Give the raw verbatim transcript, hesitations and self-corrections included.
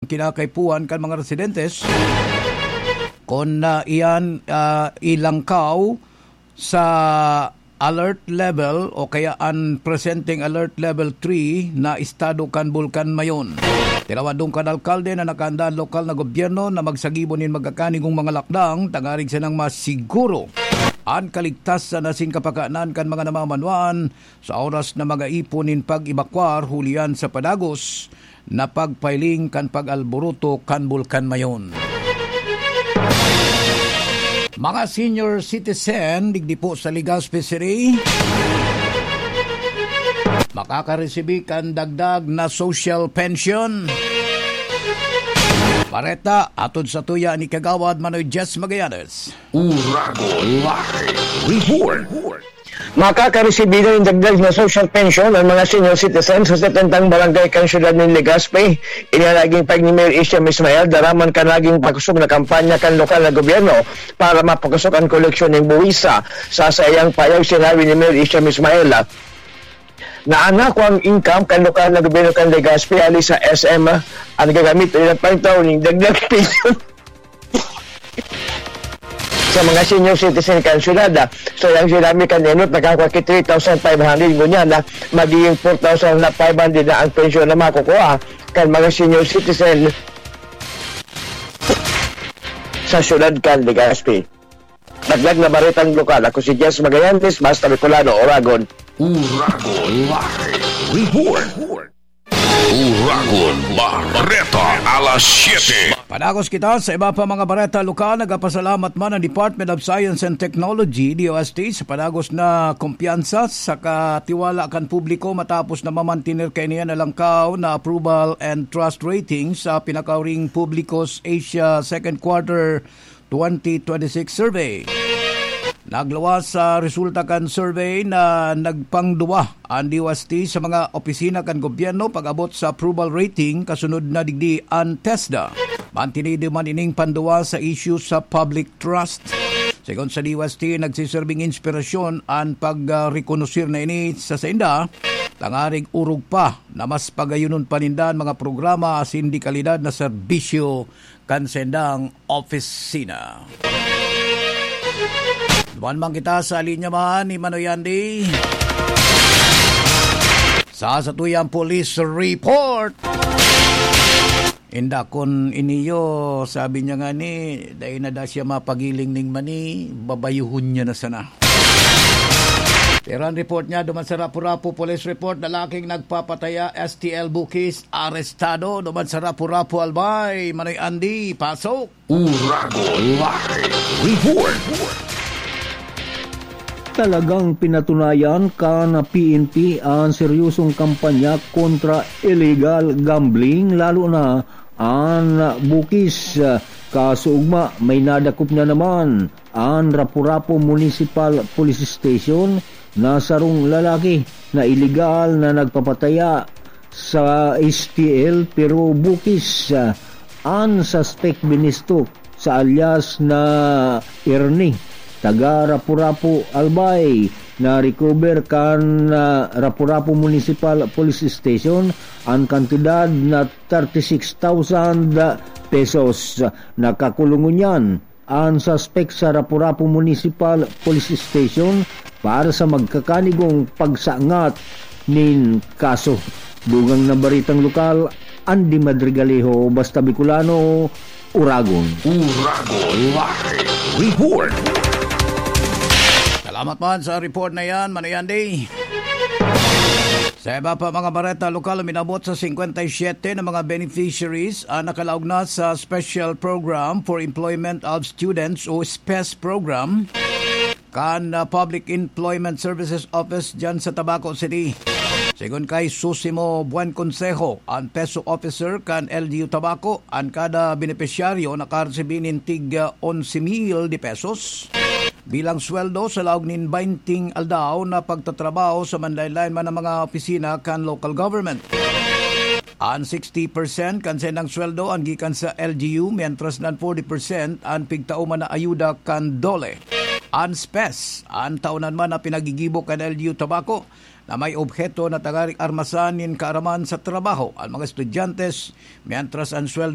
kinakaipuhan kan mga residentes kon, ah, iyan, ah, ilangkaw sa alert level o kaya an presenteng alert level three na estado kan Bulkan Mayon. Tinawadong kan alkalde na nakaanda an lokal na gobyerno na magsagibo nin magkakanigong mga lakdang tangarig sanang masiguro an kaligtasan asin kapakanan kan mga namamanwaan sa oras na mag-aipon nin pag-ebakwar hulihan sa padagos na pagpailing kan pag-alboroto kan Bulkan Mayon. Mga senior citizen digdi po sa Legazpi City, makakaresibi kan dagdag na social pension. Bareta, atod sa tuya ni Kagawad Manoy Jess Magallanes. Uragon Live Report. Makakaresibi na nin dagdag na social pension ang mga senior citizens sa setentang barangay kan siyudad nin Legazpi. Ini an naging pahayag ni Mayor Isham Ismail daraman kan naging pakosog na kampanya kan lokal na gobyerno para mapakosog an koleksyon nin buwisa. Sa saiyang pahayag, sinabi ni Mayor Isham Ismail, ah, na an nakuang income kan lokal na gobyerno kan Legazpi hali sa S M, ah, an gagamit ilang pangtao nin dagdag pension sa mga senior citizen kan syudad. So, yang sinabi kan Enot, nakakua ki three thousand five hundred, ngunyan na magiging four thousand five hundred na ang pensyon na makukuha kan mga senior citizen sa syudad kan Legazpi. Dagdag na baretang lokal, ako si Jess Magallanes, Basta Bicolano, Oragon. Uragon Live Report. Uragon Bareta, alas siyete. Padagos kita sa iba pa mga bareta lokal. Nagpapasalamat man ang Department of Science and Technology, D O S T, sa padagos na kumpiyansa sa katiwala kan publiko matapos na mamantener kaini an alangkaw na approval and trust rating sa pinakahuring Publicos Asia Second Quarter twenty twenty-six survey. Nagluwas sa resulta kan survey na nagpangduwa an D O S T sa mga opisina kan gobyerno pag-abot sa approval rating, kasunod na digdi an TESDA. Mantinido man ining panduwa sa isyu sa public trust. Segun sa D O S T, nagsiserbing inspirasyon an pagrekonosir na ini sa sainda, tangarig orog pa na mas pagayonon pa ninda an mga programa asin dekalidad na serbisyo kan saindang opisina. Duman man kita sa linya man ni Manoy Andy. Sa satuyang police report. Inda kun iniyo, sabi niya nga ni, dai na da siya mapagiling ning mani, babayuhon niya na sana. Pero ang report niya, duman sa Rapu-Rapu Police Report, lalaking nagpapataya, S T L Bukis, arestado. Duman sa Rapu-Rapu Albay, Manoy Andy, pasok. Uragon Live Report. Talagang pinatunayan kan P N P an seryosong kampanya kontra illegal gambling, lalo na an Bukis. Kaso ugma, may nadakop na naman an Rapu-Rapu Municipal Police Station na sarong lalaki na iligal na nagpapataya sa S T L, pero Bukis, ah, an suspect binistok sa alias na Ernie, taga Rapu-Rapu, Albay, na recover kan, ah, Rapu-Rapu Municipal Police Station an kantidad na thirty-six thousand pesos. Nakakulong ngunyan an suspek sa Rapu-Rapu Municipal Police Station para sa magkakanigong pagsangat nin kaso. Dugang na baritang lokal, Andy Madrigalejo, Basta Bicolano, Uragon. Uragon Live Report. Salamat man sa report na yan, Manoy Andy. Sa iba pa mga bareta lokal, uminabot sa singkwenta y siyete na mga beneficiaries ang nakalaog na sa Special Program for Employment of Students o SPES program kan, ah, Public Employment Services Office dyan sa Tabaco City. Segun kay Susimo Buen Consejo, ang PESO officer kan L G U Tabaco, an kada benepisyaryo nakaresibi nin tig, ah, onse mil de pesos bilang sweldo sa laog nin baynting aldaw na pagtatrabaho sa manlaen-laen man na mga opisina kan local government. An sixty percent kan saindang sweldo an gikan sa L G U, mientras na an forty percent an pigtao man na ayuda kan DOLE. An SPES, an taonan man na pinagigibo kan L G U Tabaco, na may obheto na tanganing armasan nin kaaraman sa trabaho an mga estudyante, mientras an sweldo